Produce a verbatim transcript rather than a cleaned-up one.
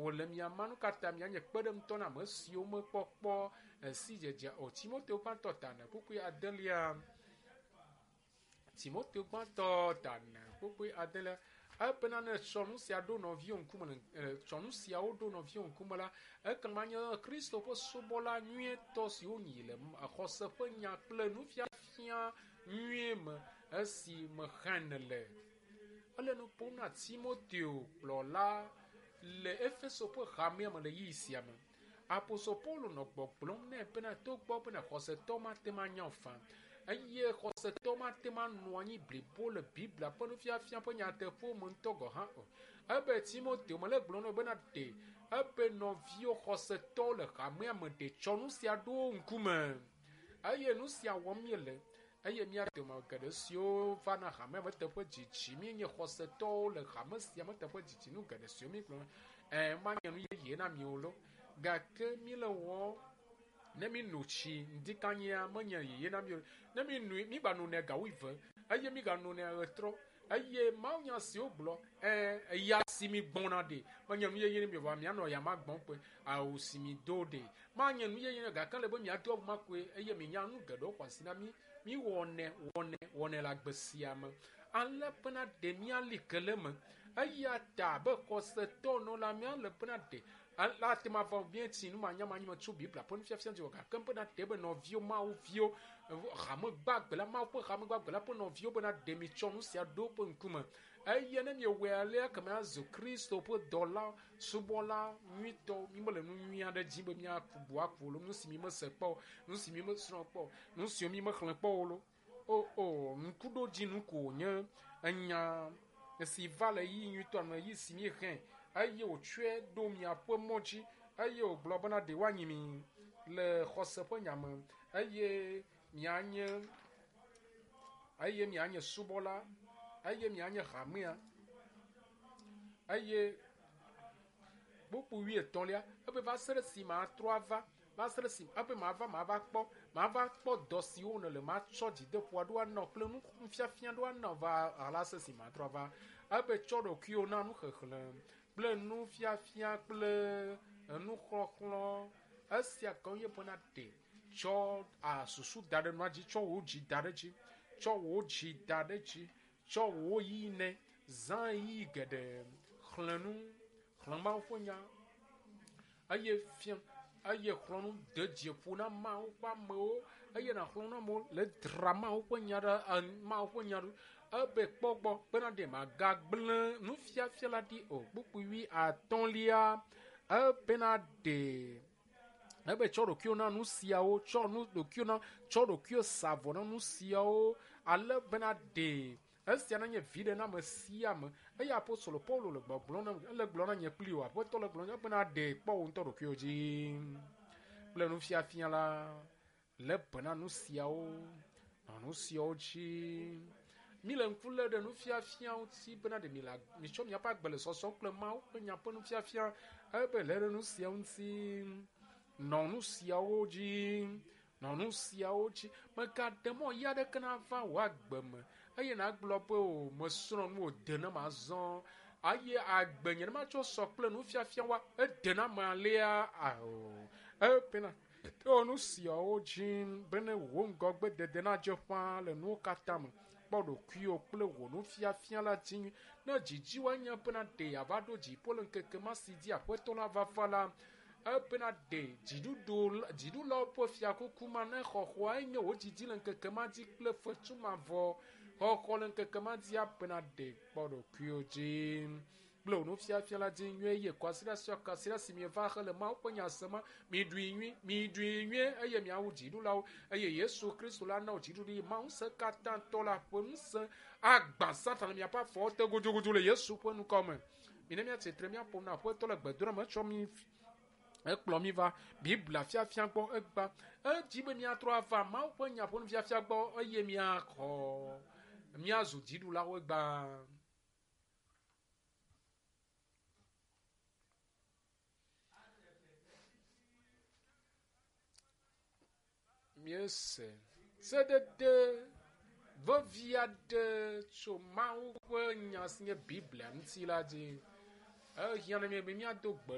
Wòle mia ma nu katã mianye kpeɖeŋutɔ na ame siwo mekpɔkpɔ sidzedze o. Timoteo gbãtɔ ta ene kpukpui adelia. Timoteo gbãtɔ ta ene kpukpui adelia. Ebena ne tsɔ nu sia ɖo nɔviwo ŋkume le tsɔ nu siawo ɖo nɔviwo ŋkume la, ekema nye Kristo ƒe subɔla nyuietɔ siwo nyi le xɔse ƒe nya kple nufiafia nyuie me esi me xlẽ nèle. Ele nu ƒom na Timoteo kplɔla le Efeso ƒe hamea me le ɣeyiɣi sia me. Apostol Paulo nɔ gbɔgblɔm nɛ bena togbɔ bena xɔsetɔ mate ŋu anya o faa eye xɔsetɔ mate ŋu anɔ anyi blibo le Biblia ƒe nufiafia ƒe nyateƒewo me ŋutɔ gɔ̃ hã o. Ebe Timoteo mele gblɔm nɛ bena ɖe ebe nɔviwo xɔsetɔwo le hamea me ɖe tsɔ nu sia ɖo wo ŋkume eye nu sia wɔm míele eye mía dome geɖe siwo vana hamea me teƒe dzidzi míenye xɔsetɔwo le hame sia me teƒe dzidzi nu geɖe siwo mígblɔ ɛ manye nu yeye na mi o lo gake míele wɔ ne mi no tsi ŋdikanyia menye yeye na mi o ne mi noe mi gba nonɛ ga wuieve eye mi ga nonɛ ɣetrɔ eye mawunya siwo gblɔ ɛ eya si mi gbɔna ɖe menye nu yeye na mi o vɔa mianɔ ya ma gbɔm koe awu si mi do ɖe manye nu yeye na gake le be miado awu ma koe eye minya nu geɖewo xɔ asi na mi mi wɔnɛ wɔnɛ wɔnɛ le agbe sia me ale bena ɖe míali ke le eme eya ta be xɔsetɔ nɔ la míale bena ɖe la te ma va míetsi nu manyamanyi me tso Biblia ƒe nufiafia dzi o gake bena ɖe be nɔviwo Mawu viwo hame gbagbe la Mawu ƒe hame gbagbe la ƒe nɔviwo bena ɖe mitsɔ nu sia ɖo woƒe ŋkume eye ne miewɔe alea ke miazu Kristo ƒe dɔla subɔla nyuitɔ mi mele nu nyui aɖe dzi be míaku bu aku o nu si mi mese kpɔ o nu si mi mesrɔ̃ kpɔ o nu siwo mi mexlẽ kpɔ o lo o o ŋkuɖodzinu ko wònye enya si va le ɣeyiɣi nyuitɔ me ɣeyiɣi si míexlẽ eye wòtsɔe ɖo miaƒe mɔ dzi eye wògblɔ bena ɖe woanyi mi le xɔse ƒe nya me eye mianye eye mianye subɔla eye mianye hamea eye kpukpui wuietɔ̃lia ebe va se ɖe si matrɔ ava va se ɖe si ebe mava mava kpɔ mava kpɔ dɔ siwo nèle matsɔ dzideƒo aɖo anɔ kple nufiafia ɖo anɔ va ala se si matrɔ ava ebe tsɔ ɖokuiwo na nuxexlẽ kple nufiafia kple nuxɔxlɔ̃ esia ke nye bena ɖe tsɔ a susu da ɖe nua dzi tsɔ wò dzi da ɖe dzi tsɔ wò dzi da ɖe dzi tsɔ wò ɣeyiɣi nɛ zã ɣeyiɣi geɖe xlẽ nu xlẽ Mawu ƒe nya eye fia eye xlɔ̃ nu de dzi ƒo na Mawu ƒe amewo eye nàxlɔ̃ nu amewo le dzra Mawu ƒe nya ɖe Mawu ƒe nya ɖo ebe kpɔ gbɔ bena ɖe magagblẽ nufiafia la ɖi o kpukpui wuiatɔ̃lia ebena ɖe ebe tsɔ ɖokuiwo na nu siawo tsɔ nu ɖokuiwo na tsɔ ɖokuiwo sa vɔ na nu siawo ale bena ɖe esia nanye viɖe na ame sia ame eye apostolo Paulo le gbɔgblɔm na ele gblɔm na nye kpli o aƒetɔ le gblɔm na bena ɖe kpɔ wò ŋutɔ ɖokuiwo dzi kple nufiafia la lé be na nu siawo nɔ nu siawo dzi mi le ŋku lé ɖe nufiafia ŋuti bena ɖe mi le mitsɔ miaƒe agbe le sɔsɔm kple Mawu ƒe nya ƒe nufiafia ebe lé ɖe nu siawo ŋuti nɔ nu siawo dzi nɔ nu siawo dzi megaɖe mɔ yi aɖeke nava wò agbe me eye nàgblɔ be o mesrɔ̃ nu wòde nam azɔ eye agbe nye ne matsɔ sɔ kple nufiafia wa ede nam alea ao ebena to nu siawo dzi bene wò ŋgɔgbedede nadze ƒãa le nuwo katã me kpɔ ɖokuiwò kple wò nufiafia la dzi nyui ne dzidzi woanye bena ɖe yeava ɖo dziƒo le ŋkeke ma si dzi aƒetɔ la vava la ebena ɖe dziɖuɖu dziɖulawo ƒe fiakuku ma ne xɔxɔa enye wò dzidzi le ŋkeke ma dzi kple fetu mavɔ xɔxɔ le ŋkeke ma dzi abena ɖe kpɔ ɖokuiwò dzi kple wò nufiafia la dzi nyuie eye kwasiɖa sia kwasiɖa si mieva xe le Mawu ƒe nya sem miɖui nyui miɖui nyuie eye miawu dziɖulawo eye Yesu Kristo la na wò dziɖuɖu yi Mawu ŋusẽ katã tɔ la ƒe ŋusẽ agbã Satan le miaƒe afɔwo te gudugudu le Yesu ƒe ŋkɔ me. Mine míatsitre míaƒo na aƒetɔ le gbedoɖa me etsɔ mi ekplɔ mi va Biblia fiafia gbɔ egba edzi be míatrɔ ava Mawu ƒe nya ƒe nufiafia gbɔ eye míaxɔ míazu dziɖulawo egba. Míese sedede vevi aɖe tso Mawu ƒe nya si nye Biblia ŋuti la dzi. Ehiã na mí be míado gbe